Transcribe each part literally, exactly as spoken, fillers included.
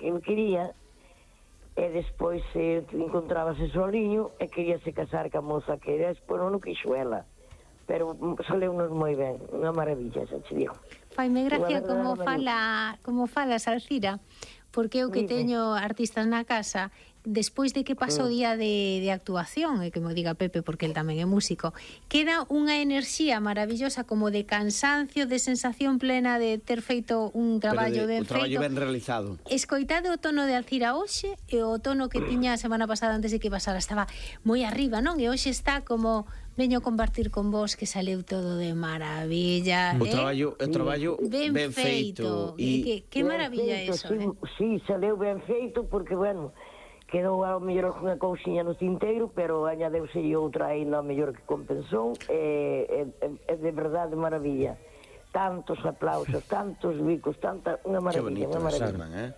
que ele quería, e despois eh, encontrábase soliño e queríase casar ca moza que despois non o quixo ela, pero saleu-nos moi ben, unha maravilla, xa te digo. Faime gracia como fala, como falas, Alcira, porque eu que teño artistas na casa, despois de que pasou o día de, de actuación, e que me diga Pepe, porque el tamén é músico, queda unha enerxía maravillosa, como de cansancio, de sensación plena de ter feito un traballo de, ben un traballo feito. ben realizado. Escoitade o tono de Alcira hoxe, e o tono que tiña a semana pasada antes de que pasara, estaba moi arriba, non? E hoxe está como... Veño a compartir con vos que saleu todo de maravilla. O eh? traballo, o traballo ben, ben feito. feito. E que, que maravilla feito, eso, sí, eh? Sí, saleu ben feito, porque, bueno, quedou ao mellor unha cousiña no tinteiro, pero añadeuse outra aí no mellor que compensou, e, e, e de verdade maravilla. Tantos aplausos, tantos bicos, tanta, unha maravilla, unha maravilla. Salman, eh?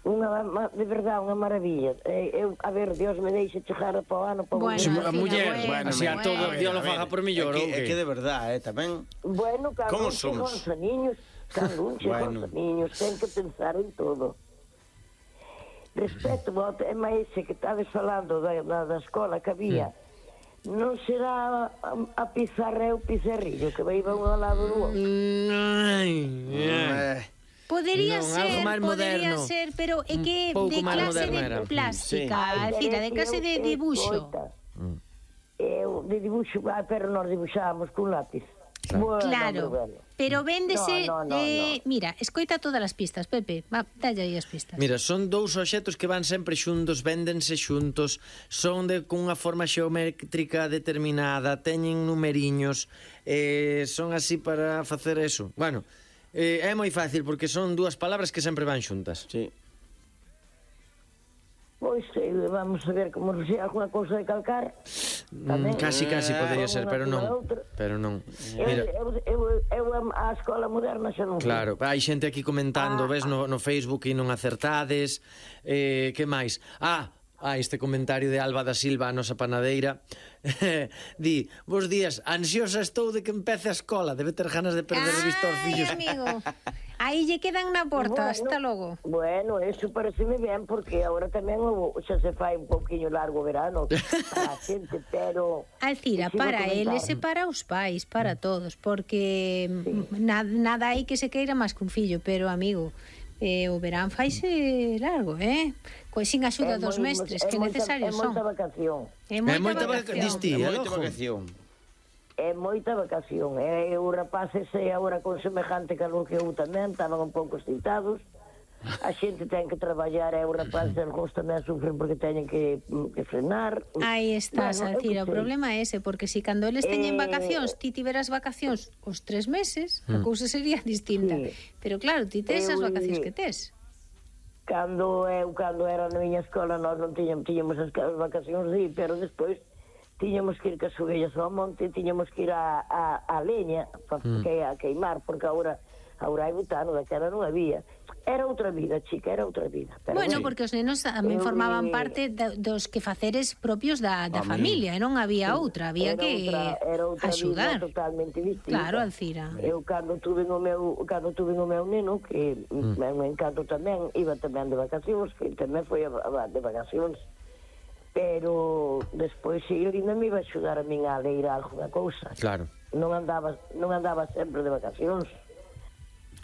Unha, de verdade, unha maravilla. Eu, a ver, Dios me deixe chegar para o ano para bueno, volver. a muller, bueno, así a bueno. todo Dios lo faga por millor, é que, é que de verdade, eh, tamén. Bueno, cando Como un somos? chega os niños, cando un chega Bueno. os niños, ten que pensar en todo. Respecto ao tema ese que estades falando da, da, da escola que había, non será a, a pizarra e o pizarrillo que vai un ao lado do outro? Ai, Eh, Podería Non, ser, algo máis podería moderno. ser, pero é que Un pouco de máis clase moderno era. de plástica, Ai, Alcira, de pero clase eu- de eu- dibuixo. escoita, Eu de dibuixo, ah, pero nós dibuixábamos con lápiz. Bueno, Claro, bueno. pero véndese, No, no, no, eh, no. mira, escoita todas as pistas, Pepe, va, dalle aí as pistas. Mira, son dous obxectos que van sempre xuntos, véndense xuntos, son de cunha forma xeométrica determinada, teñen numeriños, eh, son así para facer eso. Bueno, eh, é moi fácil porque son dúas palabras que sempre van xuntas. sí. Pois, eh, vamos a ver como se alguna cousa de calcar. Mm, casi, casi podería ser, pero non. Pero non. Eu, Mira, eu, eu, eu a escola moderna xa non fui. claro, hai xente aquí comentando, Ah, ves no, no Facebook e non acertades. Eh, que máis? Ah, ah, este comentario de Alba da Silva, a nosa panadeira. Di, bos días, ansiosa estou de que empece a escola, debe ter ganas de perder de vista aos Ai, fillos. amigo, aí lle quedan na porta, Bueno, hasta logo. Bueno, eso pareceme ben, porque agora tamén o, xa se fai un pouquiño largo o verano para a xente, pero... Alcira, Sigo para comentando. eles e para os pais, para todos, porque sí. nada, nada hai que se queira máis que un fillo, pero amigo, eh, o verán faise largo, eh? Coa sin axuda É dos moi- mestres, é que moita- necesarios É son. moita vacación. É moita, É moita vaca- vacación. diste, É é moita lojo. vacación. É moita vacación. E os rapaces e agora con semejante calor que eu tamén estaban un pouco excitados. A xente ten que traballar e os rapaces algúns tamén sufren porque teñen que, que frenar. Aí estás, Bueno, eu Alcira, o que sei. problema é ese, porque si cando eles teñen Eh, vacacións, ti tiveras vacacións os tres meses, a cousa sería distinta. Sí. Pero claro, ti tes as Eu, vacacións eh, que tes. Cando eu cando era na miña escola nós non tiñamos, tiñamos as, as vacacións sí, pero despois tiñamos que ir cas ovellas ao monte, tiñamos que ir a, a, a leña pa, mm. que, a queimar, porque agora agora hai butano, daquela non había. Era outra vida, chica, era outra vida. Pero Bueno, bueno, porque os nenos tamén Eu, formaban eh, parte da, dos quefaceres propios da, da Home. familia, e non había outra, había era que outra, era outra axudar. vida totalmente distinta. Claro, Alcira. Eu cando tuve o meu cando tuve o meu neno que mm. me, me encanto tamén, iba tamén de vacacións, que tamén foi a, a, de vacacións. Pero despois ele ainda me iba a axudar a min a ler alguna cousa. Claro. Non andaba non andaba sempre de vacacións.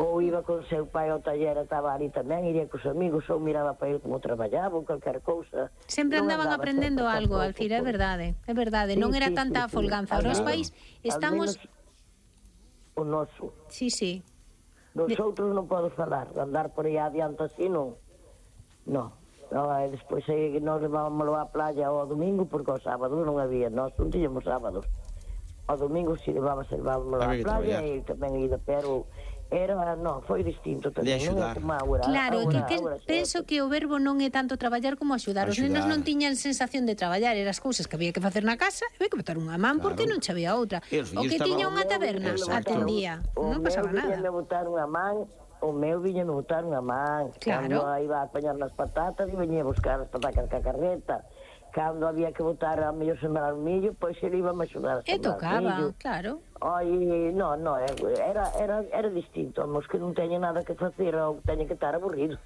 Ou iba con seu pai ao taller, estaba ali tamén, iría cos amigos, ou miraba para ele como traballaba, ou calquer cousa. Sempre Non andaban andaba aprendendo sempre algo, tampouco, Alcira, é pois. verdade, é verdade, Sí, non era sí, tanta sí, sí. folganza. Ahora os Al pais menos- estamos... al menos o noso. Sí, sí. Dos De- outros non podo falar, de andar por aí adiante así non. Non. No, e despois aí nós levámoslo á playa ao domingo, porque ao sábado non había, nós non tiñamos sábados. Ao domingo si levábamos, levámoslo á Había que playa traballar. e tamén ida, pero era, non, foi distinto tamén, De non é axudar. como agora. Claro, agora, que, que agora, penso que o verbo non é tanto traballar como axudar. Os nenos Axudar. non tiñan sensación de traballar, eran as cousas que había que facer na casa, e había que botar unha man porque Claro. non che había outra. E os O que fillos tiña estaban- unha taberna, Exacto. atendía, O non pasaba meu viñame nada. botar unha man, o meu viñame botar unha man. Claro. Cando iba a apañar nas patatas e viña a buscar as patacas ca carreta. Cando había que botar a mellor sembrar o millo, pois ele iba a axudar a E sembrar tocaba, millo. claro. Ai, no, no, era, era, era distinto, mos que non teñen nada que facer ou teñen que estar aburridos.